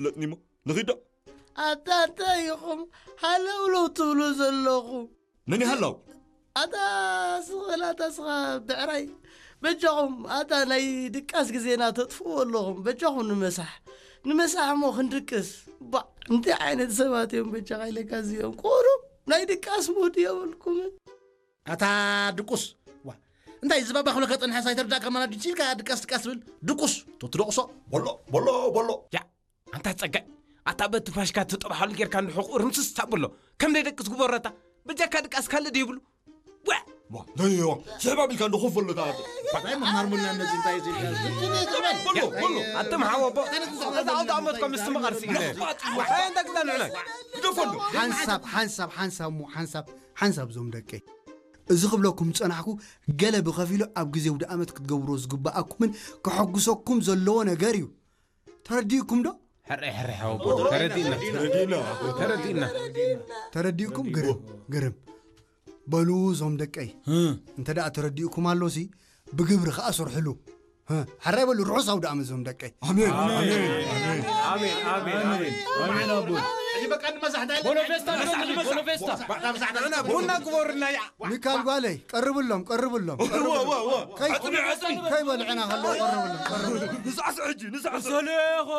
ለጥኒሞ ንኺዶ ኣታ እንታይ ኢኹም ሃለውለው ትብሉ ዘለኹም? መን ይሃላው? ኣታ ስኽል ኣታ ስኻ ብዕራይ፣ በጃኹም ኣታ ናይ ድቃስ ግዜና ተጥፍዎ ኣለኹም። በጃኹም ንምሳሕ ንምሳሕ እሞ ክንድቅስ። ባ እንታይ ዓይነት ሰባት እዮም በጃኻ ኢለካ እዚኦም ቁሩብ ናይ ድቃስ ሙድ የብልኩምን። ኣታ ድቁስ፣ ዋ እንታይ ዝባባ ክብለካ ጸንሐ ሳይተርዳእካ ማና ድንቺ ኢልካ ድቃስ ድቃስ ትብል ድቁስ። ተትደቑሶ። በሎ በሎ በሎ። ያ ኣንታ ጸጋይ፣ ኣታ በቲ ፋሽካ ትጠብሓሉ ጌርካ እንድሕር ቁርምስስ ታብሎ ከም ደይ ደቅስ ግበረታ። በጃካ ድቃስ ካልእ ደይብሉ። ዋ ዋ ደይዋ ስሕባ ቢልካ እንዶ ኮፍ በሎ። እንታይ መማርሙና እነዚህ እንታይ እዚህ በሎ በሎ። ኣትም ሓወቦ ኣታ ኣውዳ ኣመት ከም ምስትምቓር ስኢነ። ኣይ እንዳ ግዳ ንዕናይ ግደፈሉ። ሓንሳብ ሓንሳብ ሓንሳብ እሞ ሓንሳብ ሓንሳብ እዞም ደቀይ፣ እዚ ክብለኩም ዝጸናሕኩ ገለ ብኸፊሉ ኣብ ግዜ ውደ ኣመት ክትገብርዎ ዝግብኣኩምን ከሐጉሰኩም ዘለዎ ነገር እዩ። ተረዲእኩም ዶ? ሕራይ ሕራይ ሓወቦ ተረዲእና። ተረዲእና። ተረዲእኩም ግርም ግርም። በሉ እዞም ደቀይ፣ እንተ ደኣ ተረዲእኩም ኣሎሲ ብግብሪ ከኣ ስርሕሉ። ሕራይ በሉ ርሑስ ኣውደ ኣመት እዞም ደቀይ። ኣሜን ኣሜን ኣሜን ኣሜን ኣሜን ኣሜን ኣሜን ኣቦ። ሕጂ በቃ ንመሳሕ እንታይ ቦኖ ፌስታ ንመሳሕ ንመሳሕ ቦኖ ፌስታ። ቡና ግበሩልና ያ። ሚካል ጓለይ ቀርብሎም ቀርብሎም። ዋ ዋ ዋ። ከይ- ኣጽሚ ኣጽሚ። ከይበልዕና ከለዉ ቀርብሎም ቀርብሎም። ንሳዕስዕ ሕጂ ንሳዕስዕ። ሰሌኾ